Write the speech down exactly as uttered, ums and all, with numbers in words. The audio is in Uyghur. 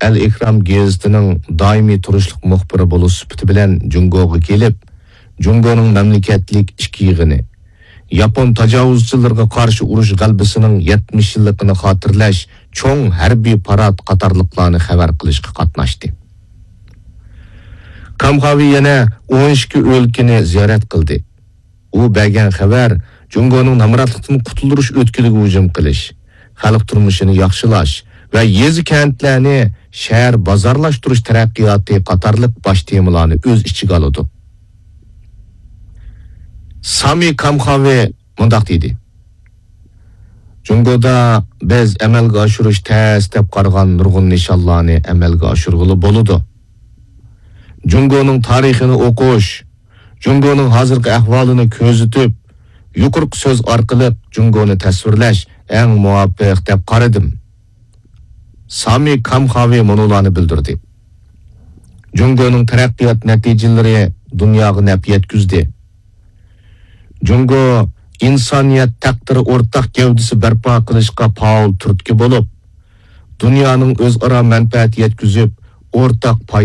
ئەل ئېھرام گېزىتىنىڭ دائىمىي تۇرۇشلۇق مۇخبىرى بولۇش سۈپىتى بىلەن جۇڭگوغا كېلىپ، جۇڭگونىڭ مەملىكەتلىك ئىككى يىغىنى، ياپون تاجاۋۇزچىلىرىغا قارشى ئۇرۇش غەلىبىسىنىڭ يەتمىش يىللىقىنى خاتىرىلەش چوڭ ھەربىي پارات قاتارلىقلارنى خەۋەر قىلىشقا قاتناشتى. كامخاۋى يەنە ئون ئىككى ئۆلكىنى زىيارەت قىلدى. ئۇ بەرگەن خەۋەر جۇڭگونىڭ نامراتلىقتىن قۇتۇلدۇرۇش ئۆتكىلىگە ھۇجۇم قىلىش، خەلق تۇرمۇشىنى ياخشىلاش ۋە يېزا-كەنتلەرنى شەھەر بازارلاشتۇرۇش تەرەققىياتى قاتارلىق باش تېمىلارنى ئۆز ئىچىگە ئالىدۇ. سامى كامخاۋى مۇنداق دېدى: جۇڭگودا بىز ئەمەلگە ئاشۇرۇش تەس دەپ قارىغان نۇرغۇن نىشانلارنى ئەمەلگە ئاشۇرغىلى بولىدۇ. جۇڭگونىڭ تارىخىنى ئوقۇش، جۇڭگونىڭ ھازىرقى ئەھۋالىنى كۆزىتىپ، يۇقىرىقى سۆز ئارقىلىق جۇڭگونى تەسۋىرلەش ئەڭ مۇۋاپىق دەپ قارىدىم. سامى كامخاۋى مۇنۇلارنى بىلدۈردى: جۇڭگونىڭ تەرەققىيات نەتىجىلىرى دۇنياغا نەپ يەتكۈزدى. جۇڭگو ئىنسانىيەت تەقدىرى ئورتاق گەۋدىسى بەرپا قىلىشقا پائال تۈرتكە بولۇپ، دۇنيانىڭ ئۆزئارا مەنپەئەت يەتكۈزۈپ، ئورتاق پايدا